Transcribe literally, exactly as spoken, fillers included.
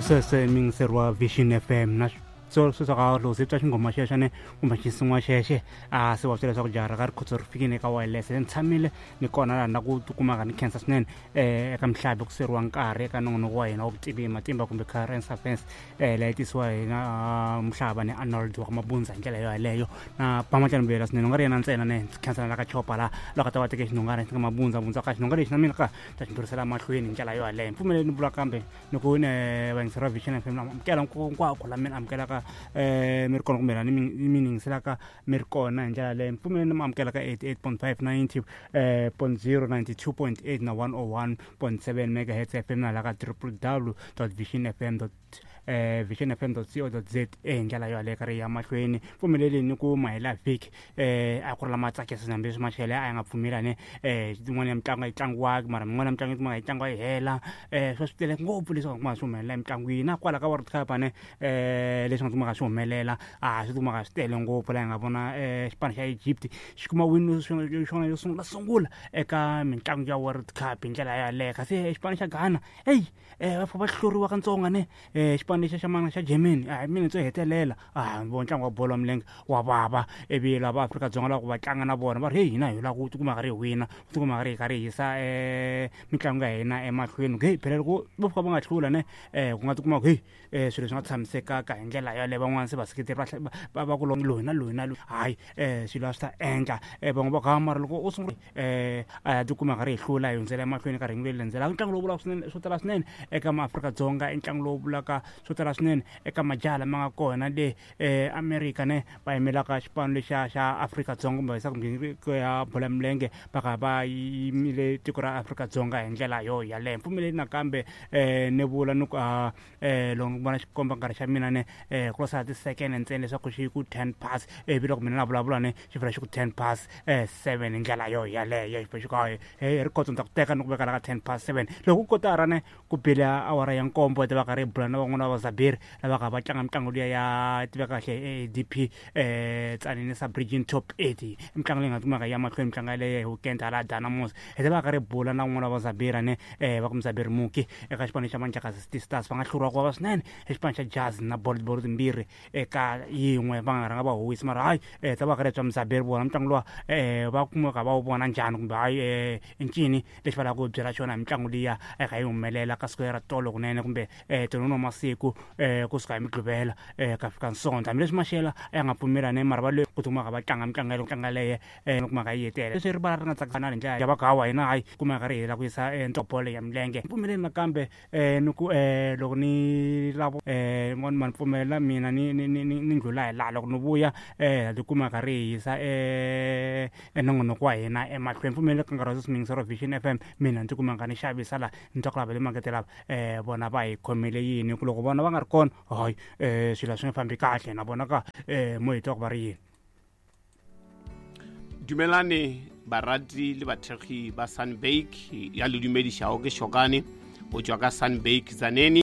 Sweswe miyingiseri wa Vision F M na so sweswo ka loko se twa xinghoma xexo ne kumbe xinsin'wa xexe a se wa swi leswaku jaha ra ka Rikhotso ri fikile eka wireless. Ni tshamile ni kona laha na ku tikumaka ni khensa swinene um eka mihlabi ku seriwa nkarhi eka nongonoko wa hina wa vutivi hi matimba kumbe current affairs um leyi tisiwa hi na Muhlava ni Arnold wa ka Mabundza hi ndlela yo yaleyo na Pamatlani Mbuyela swinene u nga ri yena ntsena ne ndzi khensa na ka Chopa laha loko a ta va teke xinhongana xi nga Mabundza Bundza ka xinhonga lexi na mina ka ta xi ndlhurisela mahlweni hi ndlela yo yaleyo. Mpfumeleli ni vula kambe ni ku ne vayingiseri va Vision F M amukela hinkwako la mina amukelaka eh mi ri kona kumbe la ni mi yingiselaka mi ri kona hi ndlela leyo. Mpfumeleli ni mi amukela ka eighty-eight point five, ninety point zero, ninety-two point eight na one oh one point seven megahertz F M na la ka triple w dot vision f m dot eh vision f m dot co dot z a hi ndlela yo yaleyo ka ri ya mahlweni. Pfumeleli ni ku mahela vhiki eh a ku ri lama tsakisa hambi leswi maxele a ya nga pfumelani eh yin'wana ya mitlangu a yi tlangiwaki mara min'wana ya mitlangu yi kumaka yi tlangiwa yi hela eh swa swi tele ngopfu leswi nga kumaka swi humelela emitlangwini na kwala ka World Cup ne eh leswi nga kumaka swi humelela a swi kumaka swi tele ngopfu laha hi nga vona eh xipano xa Egypt xi kuma win xona yo sungula sungula eka mitlangu ya World Cup hi ndlela yaleyo. Kasi xipano xa Ghana eyi eh va fika va hluriwa katsongo ne eh xipano lexi xa mana xa Germany a hi mina ndzo hetelela a vo ntlangu wa bolo ya milenge wa vava ivi lava Afrika-Dzonga lava ku va tlanga na vona va ri heyi hina hi lava ku tikuma ka ri hi wina ku tikuma ka ri hi karhi hi yisa eh mitlangu ya hina emahlweni. Heyi phela loko vo fika va nga hlula ne eh ku nga tikuma ku heyi eh swilo swi nga tshamisekaka hi ndlela yaleyo. Van'wana se vaseketeri va va va ku loyi na loyi na loyi hayi eh swilo a swi ta endla eh van'we va ku ha mara loko u sungula eh a ya tikuma ka ri hi hlula hi hundzela emahlweni ka rhengu leri landzelaka. Ntlangu lowu vulaka swinene swo tala swinene eka maAfrika-Dzonga i ntlangu lowu vulaka swo tala swinene eka majaha lama nga kona le eh America ne va yimelaka xipano lexiya xa Afrika-Dzonga kumbe yisa kumbe ya bolo ya milenge va kha va yimile tiko ra Afrika-Dzonga hi ndlela yo yaleyo. Mpfumeleli nakambe eh ni vula ni ku a eh loko ni vona xikomba nkarhi xa mina ne eh ku lo sala ti-second ntsena leswaku xi ku ten pass ivi loko mina na vulavula ne xi vhela xi ku ten pass eh seven hi ndlela yo yaleyo. Xi xi ku hayi hey Rikhotso ni ta ku teka ni ku veka la ka ten pass seven loko ku kotara ne ku bile awara ya nkombo ta va karhi hi bula na van'wana va Zaberi lava kha va tlanga mitlangu liya ya tiveka kahle A D P eh Tzaneen Sub Region Top eight mitlangu leyi nga kumaka ya mahlweni mitlangu yaleyo hi weekend hala Dynamos hi ta va karhi hi bula na van'wana va Zaberi ne eh va ku Mzaberi Muki eka xipano xa Manjakazi City Stars va nga hluriwa ku vava swinene hi xipano xa Jazz na bolo bolo timbirhi eka yin'we va nga rhanga va huwisa mara hayi eh ta va karhi bya Mzaberi vona mitlangu luwa eh va kumeka va wu vona njhani kumbe hayi eh ncini lexi va lavaka ku byela xona hi mitlangu liya eka yi humelela ka siku ra tolo kunene kumbe eh tolo no masiku eh kusuka hi Mugqivela eh ka fika Sonto hambileswi maxela ya nga pfumelani mara va le ku kumaka va tlanga mitlangu yaleyo tlanga leyo eh kumaka yi hetela leswi rivala ri nga tsakisana hi ndlela ya va ku hawa hina hayi kumeka ri hela ku yisa bolo ya milenge. Pfumeleli nakambe eh ni ku eh loko ni lava eh ma ni pfumelela mina ni ni ni ni ndlula hi laha loko ni vuya eh ti kumaka ri hi yisa eh nongonoko wa hina emahlweni. Pfumeleli ka nkarhi wa sweswi miyingiseri wa Vision F M mina ndzi kumaka ni xavisa laha ni twa ku lava le makete lava eh vona va hi khomele yini ku loko vona va nga ri kona hayi eh swilo swi nga fambi kahle na vona ka eh mo hi twa ku va ri yini. Dumelane barati le bathekgi ba Sunbake ya le dumedišago ke Shokane o tšwa ka Sunbake Tzaneen.